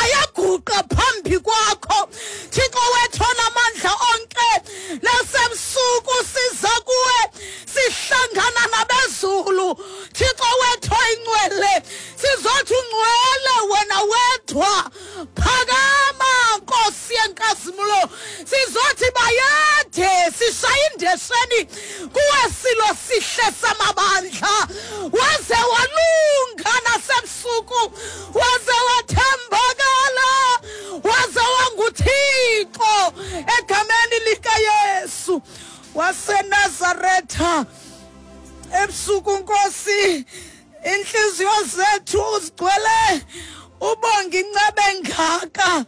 Ayaguqa phambi kwakho, Thixo wethu onamandla onke. Nasebusuku siza kuwe, sihlangana nabezulu, Thixo wethu oyingcwele. Sizothi ungcwele wena wedwa. Phakama, Nkosi yenkazimulo. Sizothi bayede, sishaya indesheni kuwe, silo sihle samabandla. Waze walunga nasebusuku, waze wathembakala, waze wanguThixo, egameni likaYesu waseNazaretha. Ebusuku, Nkosi, inhliziyo zethu zigcwele ubonga incebe engaka,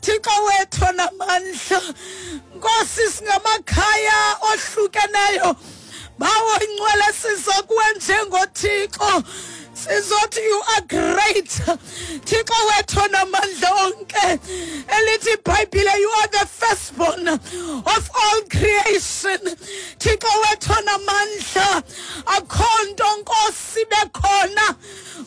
Thixo wethu namandla. Nkosi, singamakhaya ohlukeneyo, Bawo ingcwele, siza kuwe njengoThixo, sizothi you are great, Thixo wethu namandla onke. Elithi iBhayibhile, you are the firstborn of all creation, Thixo wethu namandla. Akho nto, Nkosi, bekhona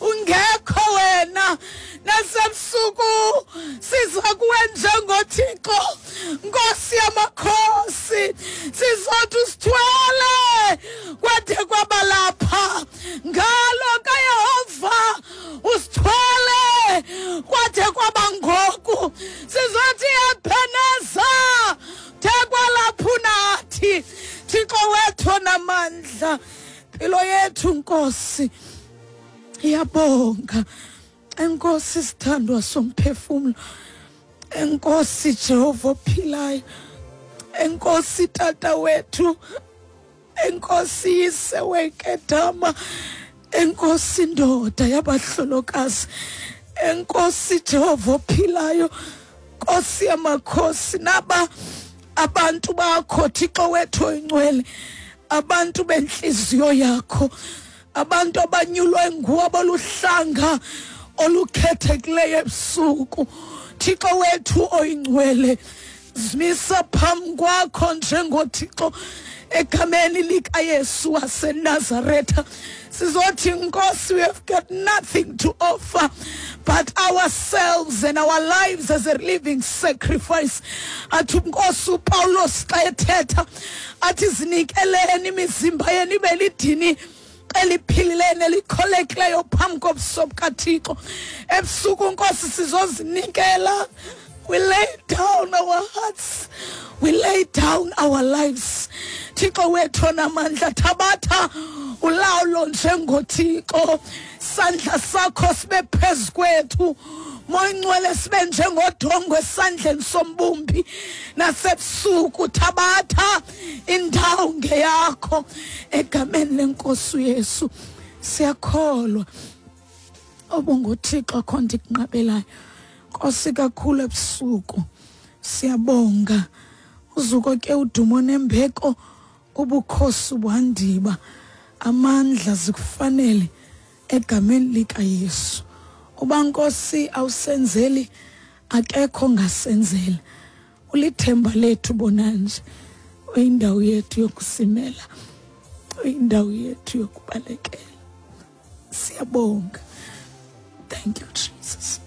ungekho wena. Nasebusuku siza kuwe njengoThixo, Nkosi yamakhosi, sizothi usithwele kwade kwabalapha. Ngalo kaYehova, usithwele kwade kwaba ngoku. Sizothi Ebeneza, thekwalapha unathi, Thixo wethu namandla. Impilo yethu, Nkosi, iyabonga. Enkosi, sithandwa somphefumlo. Enkosi, Jehova ophilayo. Enkosi, Tata wethu. Enkosi, Yise wenkedama. Enkosi, ndoda yabahlolokazi. Enkosi, Jehova ophilayo, Nkosi yamakhosi. Naba abantu bakho, Thixo wethu oyingcwele, abantu benhliziyo yakho, abantu abanyulwe nguwe, aboluhlanga olukhethekileyo. Ebusuku, Thixo wethu oyingcwele, zimisa phambi kwakho njengoThixo, egameni likaYesu waseNazaretha. Sizothi, Nkosi, we have got nothing to offer but ourselves and our lives as a living sacrifice. Athi uNkosi uPawulos xa ethetha, athi zinikeleni imizimba yenu ibe lidini eliphilileyo nelikholekileyo phambi kobuso bukaThixo. Ebusuku, Nkosi, sizozinikela. We lay down our hearts, we lay down our lives. Thixo wethu onamandla, thabatha ulawulo njengoThixo. Sandla sakho sibe phezu kwethu, Moyingcwele, sibe njengodongwe esandleni sombumbi. Nasebusuku thabatha indawo ngeyakho, egameni leNkosi uYesu. Siyakholwa obunguThixo, akho nto ikunqabelayo, Nkosi, kakhulu. Ebusuku siyabonga. Uzuko ke, udumo nembeko, ubukhosi, ubuhandiba, amandla zikufanele, egameni likaYesu. Uba, Nkosi, awusenzeli, akekho ongasenzela. Ulithemba lethu bonanje, uyindawo yethu yokusimela, uyindawo yethu yokubalekela. Siyabonga. Thank you, Jesus.